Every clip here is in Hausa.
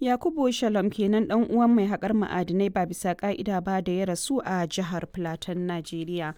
Yakubu Shalom kenan dan uwan mai haƙar ma'adinai ba bisa ƙa'ida ba da ya rasu a jihar Plateau, Najeriya.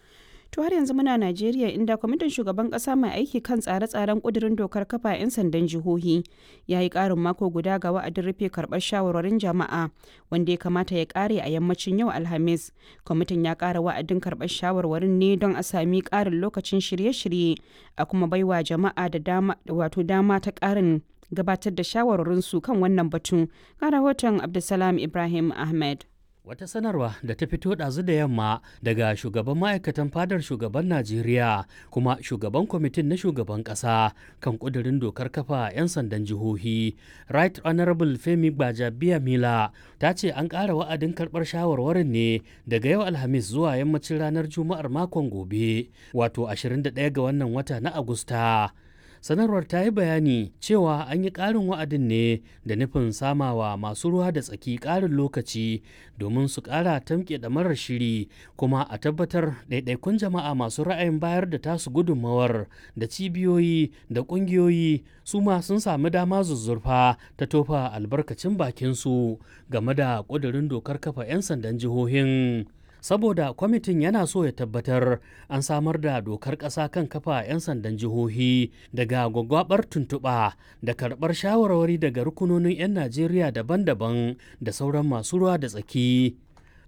To har yanzu muna Najeriya, inda kwamitin shugaban kasa mai aiki kan tsare-tsaren kudirin dokar kafa 'yan sandan jihohi ya yi karin mako guda ga wa'adin rufe karbar shawarwarin jama'a wanda ya kamata ya kare a yammacin yau Alhamis. Kwamitin ya kara wa'adin karbar shawarwarin ne don a sami karin lokacin shirye-shirye a kuma baiwa jama'a da dama, wato dama ta karin gabatar da shawarwarinsu kan wannan batun. Ga rahoton Abdulsalam Ibrahim Ahmed. Wata sanarwa da ta fito ɗazu da yamma daga shugaban ma'aikatan fadar shugaban Najeriya kuma shugaban kwamitin na shugaban ƙasa kan ƙudurin dokar kafa 'yan sandan jihohi, Right Honorable Femi Gbajabiya Mila, ta ce an ƙara wa'adin karɓar shawarwarin ne daga yau Alhamis zuwa yammacin ranar Juma'ar makon gobe, wato 21 ga wannan wata na Agusta. Sanarwar ta yi bayani cewa an yi ƙarin wa'adin ne da nufin samawa masu ruwa da tsaki ƙarin lokaci domin su ƙara tamke ɗamarar shiri, kuma a tabbatar ɗaiɗaikun jama'a masu ra'ayin bayar da tasu gudunmawar da cibiyoyi da ƙungiyoyi su ma sun sami dama zuzzurfa ta tofa albarkacin bakinsu game da ƙudurin dokar kafa 'yan sandan jihohin. Saboda kwamitin yana so ya tabbatar an samar da dokar ƙasa kan kafa 'yan sandan jihohi daga gwagwabar tuntuɓa da karɓar shawarwari daga rukunonin 'yan Najeriya daban-daban da sauran masu ruwa da tsaki.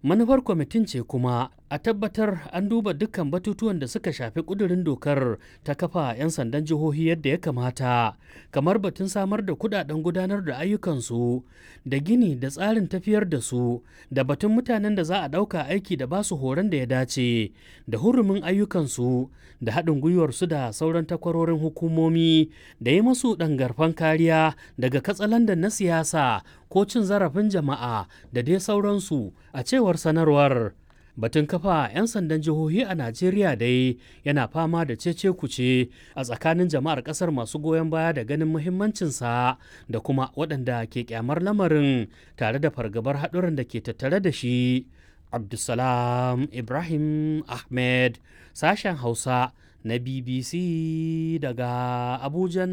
Manufar kwamitin ce kuma a tabbatar an duba dukkan batutuwan da suka shafi kudurin dokar ta kafa 'yan sandan jihohi yadda ya kamata, kamar batun samar da kudaden gudanar da ayyukansu da gini da tsarin tafiyar da su, da batun mutanen da za a ɗauka aiki da basu horon da ya dace, da hurumin ayyukansu, da haɗin gwiwarsu da sauran takwarorin hukumomi, da yi masu ɗangarfan kariya daga katsalandan na siyasa ko cin zarafin jama'a da dai sauransu, a cewar sanarwar. Batun kafa 'yan sandan jihohi a Najeriya dai yana fama da cece kuce a tsakanin jama'ar kasar, masu goyon baya da ganin muhimmancinsa da kuma waɗanda ke kyamar lamarin tare da fargabar haɗuran da ke tattare da shi. Abdulsalam Ibrahim Ahmed, sashen Hausa na BBC daga Abujan,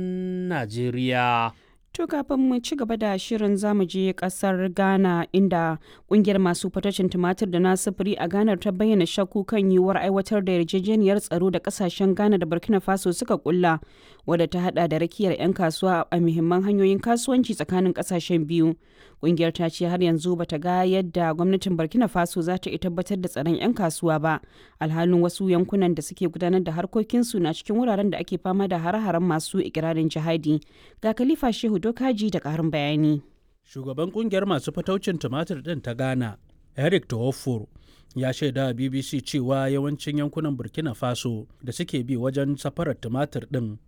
Najeriya. To kafin mu ci gaba da shirin, zamu je kasar Ghana, inda kungiyar masu fatacin tumatir da na sufuri a Ghana ta bayyana shakku kan yiwuwar aiwatar da yarjejeniyar tsaro da kasashen Ghana da Burkina Faso suka kulla, wadda ta hada da rakiyar 'yan kasuwa a muhimman hanyoyin kasuwanci tsakanin kasashen biyu. Kungiyar ta ce har yanzu bata ga yadda gwamnatin Burkina Faso za ta iya tabbatar da tsaron 'yan kasuwa ba, alhalin wasu yankunan da suke gudanar da harkokinsu na cikin wuraren da ake fama da hare-haren masu ikirarin jihadi. Ga Khalifa Shehu Dokaji da ƙarin bayani. Shugaban kungiyar masu fataucin tumatir ɗin ta Ghana, Eric Tohofor, ya shaida a BBC cewa yawancin yankunan Burkina Faso da suke bi wajen safarar tumatir ɗin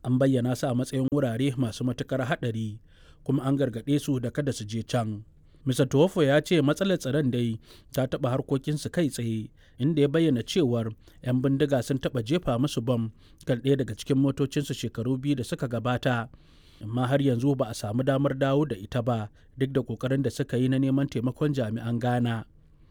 an bayyana su a matsayin wurare masu matuƙar haɗari, kuma an gargaɗe su da kada su je can. Mr. Tuwofo ya ce matsalar tsaron dai ta taɓa harkokinsu kai tsaye, inda ya bayyana cewar 'yan bindiga sun taɓa jefa musu bam kan ɗaya daga cikin motocinsu shekaru 2 da suka gabata, amma har yanzu ba a samu damar dawo da ita ba duk da kokarin da suka yi na neman taimakon jami'an Ghana.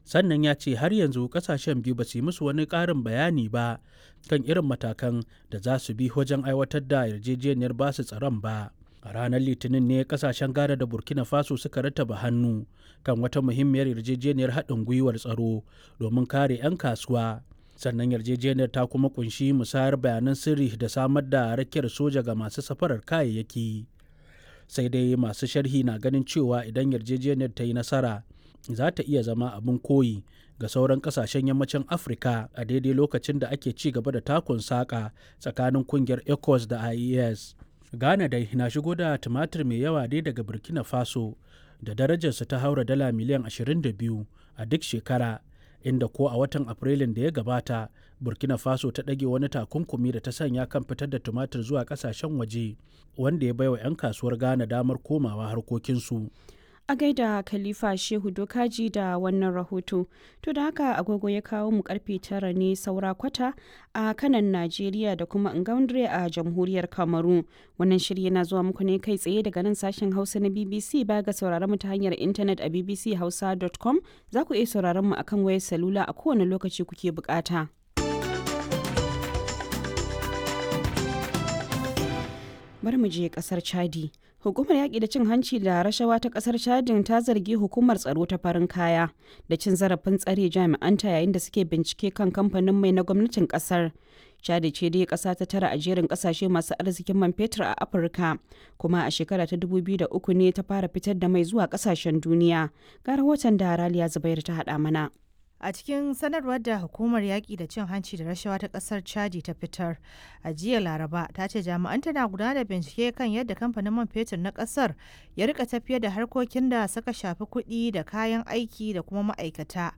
Sannan ya ce har yanzu kasashen biyu ba su yi musu wani ƙarin bayani ba kan irin matakan da za su bi wajen aiwatar da yarjejeniyar basu tsaron ba. A ranar Litinin ne kasashen Ghana da Burkina Faso suka rattaba hannu kan wata muhimmiyar yarjejeniyar haɗin gwiwar tsaro domin kare 'yan kasuwa. Sannan yarjejeniyar ta kuma kunshi musayar bayanan sirri da samar da rakiyar soja ga masu safarar kayayyaki. Sai dai masu sharhi na ganin cewa idan yarjejeniyar ta yi nasara, za ta iya zama abin koyi ga sauran kasashen yammacin Afirka a daidai lokacin da ake ci gaba da takun saƙa tsakanin kungiyar ECOWAS da IES. Ghana dai na shigo da tumatir mai yawa dai daga Burkina Faso da darajarsa ta haura dala miliyan 22 a duk shekara, inda ko a watan Afrilun da ya gabata Burkina Faso ta ɗage wani takunkumi da ta sanya kan fitar da tumatir zuwa ƙasashen waje, wanda ya baiwa 'yan kasuwar Ghana damar komawa harkokinsu. A gaida Khalifa Shehu Dokaji da wannan rahoto. To da haka agogo ya kawo mu karfe 9 ne saura kwata a kanan Najeriya da kuma Ngaundre a jamhuriyar Kamaru. Wannan shiri yana zuwa muku ne kai tsaye daga nan sashen Hausa na BBC. Baya ga sauraron mu ta hanyar intanet a bbchausa.com, za ku iya sauraron mu akan wayar salula a kowane lokaci kuke bukata. Bari mu je kasar Chadi. Hukumar yaƙi da cin hanci da rashawa ta ƙasar Chadin ta zargi hukumar tsaro ta farin kaya da cin zarafin tsare jami'anta yayin da suke bincike kan kamfanin mai na gwamnatin ƙasar. Chadi ce dai ƙasa ta tara a jerin ƙasashe masu arzikin man fetur a Afirka, kuma a shekara ta 2003 ne ta fara fitar da mai zuwa ƙasashen duniya. Ga rahoton da Raliya Zubairu ta haɗa mana. A cikin sanarwar da hukumar yaƙi da cin hanci da rashawa ta ƙasar Chadi ta fitar a jiya Laraba, ta ce jami'an tana gudanar da bincike kan yadda kamfanin man fetur na ƙasar ya rika tafiyar da harkokin da suka shafi kuɗi da kayan aiki da kuma ma'aikata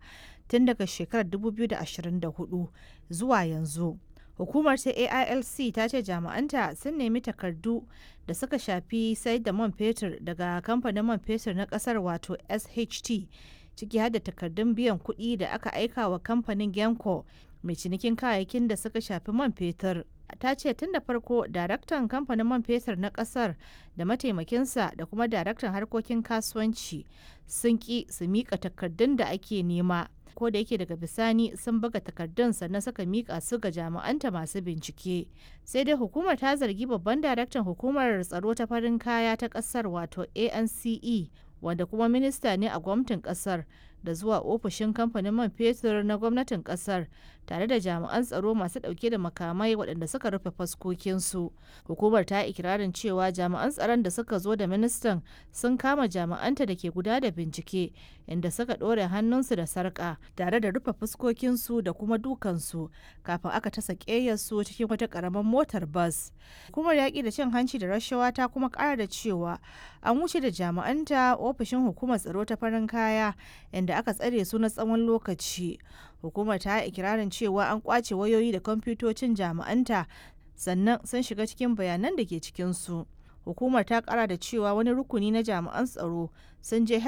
tun daga shekarar 2024 zuwa yanzu. Hukumar ta AILC ta ce jami'anta sun nemi takardu da suka shafi sayar da man fetur daga kamfanin man fetur na ƙasar wato SHT, ciki har da takardun biyan kuɗi da aka aika wa kamfanin Genco mai cinikin kayayyakin da suka shafi man fetur. Ta ce tun da farko daraktan kamfanin man fetur na kasar da mataimakinsa da kuma daraktan harkokin kasuwanci sun ki su mika takardun da ake nema, ko da yake daga bisani sun buga takardun sannan suka mika su ga jami'anta masu bincike. Sai dai hukumar ta zargi babban daraktan hukumar tsaro ta farin kaya ta kasar wato ANCE, wanda kuma minista ne a gwamnatin kasar, da zuwa ofishin kamfanin man fetur na gwamnatin kasar tare da jami'an tsaro masu dauke da makamai waɗanda suka rufe faskokinsu. Hukumar ta ikirarin cewa jami'an tsaron da suka zo da ministan sun kama jami'anta da ke guda da bincike, inda suka ɗore hannunsu da sarƙa tare da rufe fuskokinsu da kuma dukansu kafin aka tasa ƙeyarsu cikin wata ƙaramar motar bas. Hukumar yaƙi da cin hanci da rashawa ta kuma ƙara da cewa an wuce da jami'anta ofishin hukumar tsaro ta farin kaya, inda aka tsare su na tsawon lokaci. Hukumar ta yi ikirarin cewa an kwace wayoyi da kwamfutocin jami'anta sannan sun shiga cikin bayanan da ke cikinsu. Hukumar ta kara da cewa wani rukuni na jami'an tsaro sun je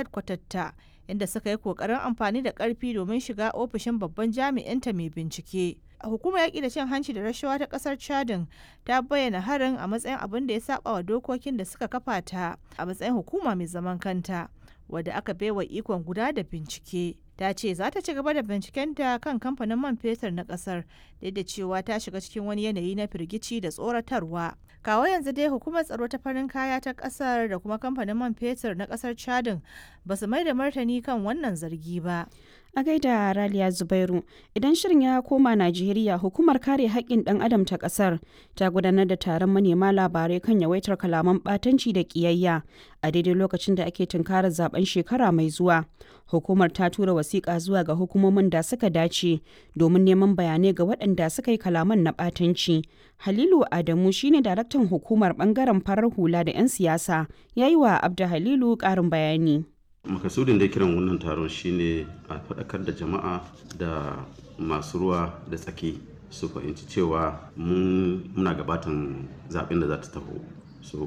ta inda suka yi kokarin amfani da karfi domin shiga ofishin babban jami'inta mai bincike. Hukumar yaƙi da cin hanci da rashawa ta ƙasar Chadin ta bayyana harin a matsayin abin da ya saba wa dokokin da suka kafa ta a matsayin hukuma mai zaman kanta, wadda aka baiwa ikon guda da bincike. Ta ce za ta ci gaba da bincikenta kan kamfanin man fetur na kasar, duk da cewa ta shiga cikin wani yanayi na firgici da tsoratarwa. Kawo yanzu dai hukumar tsaro ta farin kaya ta kasar da kuma kamfanin man fetur na kasar Chadin ba su mai da martani kan wannan zargi ba. A gaida Raliya Zubairu, idan shirin ya koma Najeriya, hukumar kare haƙƙin ɗan adam ta ƙasar ta gudanar da taron manema labarai kan yawaitar kalaman ɓatanci da ƙiyayya a daidai lokacin da ake tunkarar zaben shekara mai zuwa. Hukumar ta tura wasiƙa zuwa ga hukumomin da suka dace domin neman bayanai ga waɗanda suka yi kalaman na ɓatanci. Halilu Adamu shine daraktan hukumar ɓangaren farar hula da 'yan siyasa, ya yi wa Abda Halilu ƙarin bayani. Makasudin da kiran wannan taron shine a faɗakar da jama'a da masu ruwa da tsaki su fahimci cewa muna gabatan zaɓen da za ta taho. So